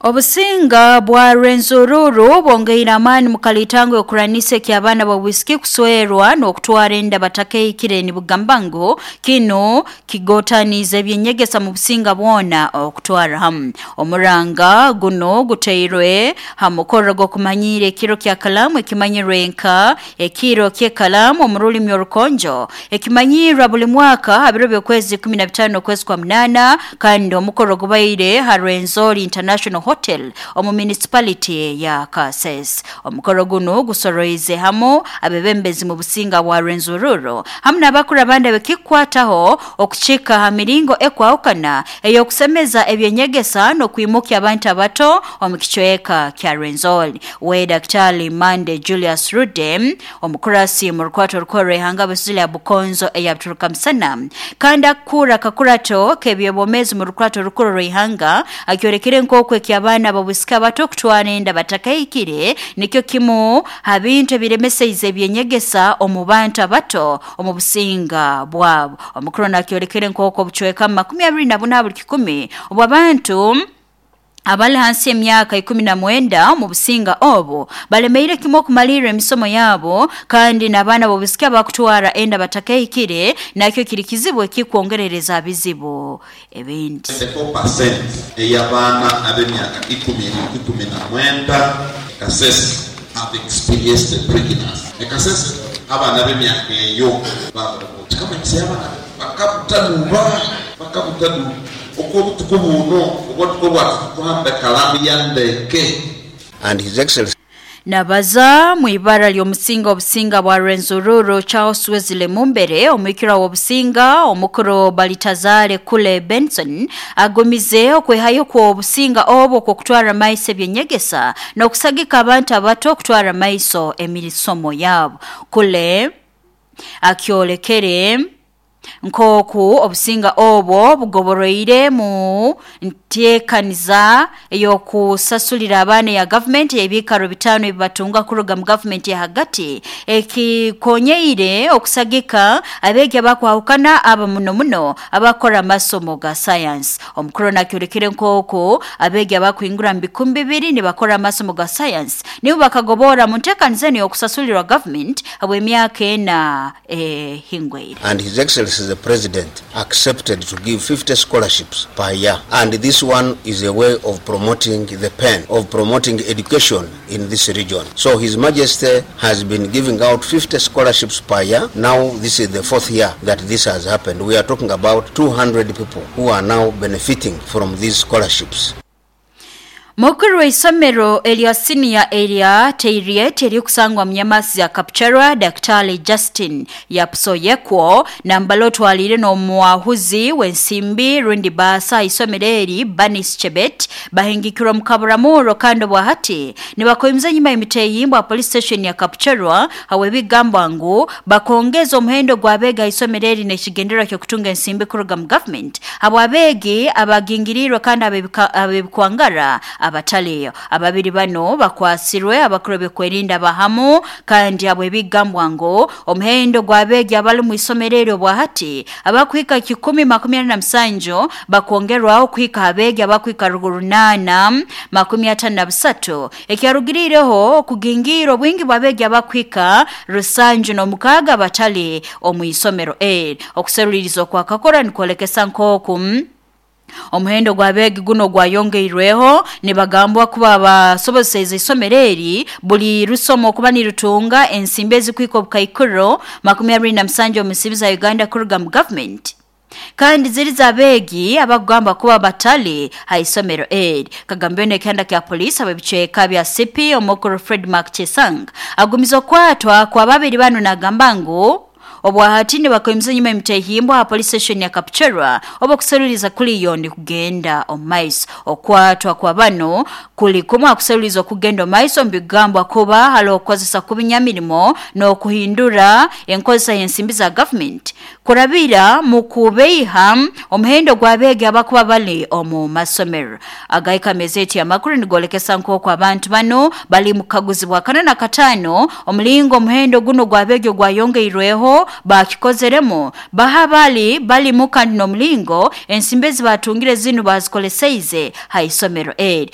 Obusinga bwa Rwenzururu bwongeire amaani mu kalitango y'okuranisa eky'abaana b'obwisiki kuswerwa n'okutwara enda batakehikire, nibugamba ngu kinu kigotaniize ebyenyegesa mu businga bwona okutwara hamu. Omuranga guno guteirwe ha mukoro gw'okumanyiira ekiro kya kalaamu, ekimanyirwe nka ekiro ky'ekalaamu omu rulimi orukonjo, ekimanyiirwa buli mwaka ha biro by'okwezi 15 okwezi kwa 8, kandi omukoro gubaire ha Rwenzori International Hotel omu municipality ya Kasese. Omukoro guno gusoroize hamu abebembezi mu businga bwa Rwenzururu hamu n'abakuru abandi ab'ekikwataho okukika ha miringo ekwahukana ey'okusemeza ebyenyegesa n'okwimukya abantu abato omu kicweka kya Rwenzori. We Daktari Mande Julius Rude, omukurasi mu rukwato rukuru rw'ihanga Busili ya Bukonzo eya Buturuka Musana, kandi akukura akakurato k'ebyobwomeezi mu rukwato rukuru rw'ihanga, akyolekere nk'oku eky'abaana b'obwisiki abato okutwara enda batakahikire nikyo kimu ha bintu ebiremeseize ebyenyegesa omu bantu abato omu businga bwabo. Omukuru nakyolekere nk'oku obucweka 24 buli kikumi obw'abantu abali hansi y'emyaka 19 omu businga obu balemeire kimu okumalirra emisomo yabo, kandi n'abaana b'obwisiki abakutwara enda batakahikire nakyo kiri kizibu ekikwongerereza bizibu ebindi. 74% ey'abaana ab'emyaka 19 Kasese have experienced a pregnancy. E Kasese abaana ab'emyaka eyo kikamanyisa abaana bakabutaduba bakabutaduba okw'obutuku buno obwatuko bwati tuhambe kalamu ya ndeke. And His Excellency Nabaza mu ibara ly'omusinga obusinga bwa Rwenzururu Charles Wesley Mumbere, omwikira w'obusinga omukuru Balitazare Kule Benson agumize okwehayo kw'obusinga obwo kw'okutwara maiso ebyenyegesa n'okusagika abantu abato okutwara maiso emisomo yabo. Kule akyolekere nk'oku obusinga obwo bugoboroire mu nteekaniza ey'okusasulira abaana ya gavumenti ebiikaro 5 ebibatunga kuruga mu gavumenti ya hagati, ekikonyeire okusagika abeegi abakwahukana aba muno muno abakora amasomo ga sayansi. Omukuru nakyolekere nk'oku abeegi abakuhingura mu 2000 nibakora amasomo ga sayansi nibo bakagobora mu nteekaniza eno ey'okusasulirwa gavumenti habw'emyaka 4 ehingwaire. And His Excellency the President accepted to give 50 scholarships per year. And this one is a way of promoting the pen, of promoting education in this region. So His Majesty has been giving out 50 scholarships per year. Now this is the 4th year that this has happened. We are talking about 200 people who are now benefiting from these scholarships. Mukuru w'isomero erya siniya erya Teiriet erikusangwa mu Nyamasi ya Kapchorwa, Daktari Justin Yapsoyekwo nambala otwalire n'omuwahuzi w'ensimbi rundi baasa isomero eri Banis Chebet bahingikirwa mu kaburamuro, kandi obwahati nibakoimiza nyuma y'emiteyimbwa police station ya Kapchorwa hawe bigambwa ngu bakongeza omuhendo gw'abeega isomero eri n'ekigendererwa ky'okutunga ensimbi kuruga mu government abo abeegi abagingirirwe kandi abebikwangara abataliyo. Ababiri bano bakwasirwe abakuru b'okwerinda bahamu, kandi abo ebigambwa ngu omuhendo gw'abeegi abali mu isomero eryo bwahati abakuhika 127 bakongerwaho kuhika abeegi abakuhika 853, ekyarugirireho okugingira obwingi bw'abeegi abakuhika 76 batali omu isomero eri. Okuseruliriza okwakakora nikwolekesa nk'oku omuhendo gw'abeegi guno gwayongeirweho, nibagambwa kuba basoboseize isomero eri buli rusomo okuba nirutunga ensimbi ezikuhika obukaikuro 27 omu nsimbi za Uganda kuruga mu gavumenti, kandi ziri z'abeegi abakugamba kuba batali ha isomero eri. Kagambwe n'ekihanda kya polisi ab'ebicweka bya CP omukuru Fred Mark Chesang agumiza okwatwa kwa babiri bano nagamba ngu obwahati nibakoimiza nyuma emitehimbwa ha police station ya Kapchorwa oba okuseruliza kuliyo ni kugenda omumaiso. Okwatwa kwa bano kuli kumwe akuseruliza okugenda omumaiso mbigambwa kuba hali okukozesa kubinyamirimo n'okuhindura enkozesa y'ensimbi za government kurabira mu kubeiha omuhendo gw'abeegi abakuba bali omu masomero. Agaika mezeti amakuru nigolekesa nk'oku abantu bano bali mu kukaguzibwa 4 na 5 omulingo omuhendo guno gw'abeegi ogwayongeirweho bakikozeremu baha bali balimu kandi n'omulingo ensimbi ezi batungire zinu bazikoleseize ha isomero eri.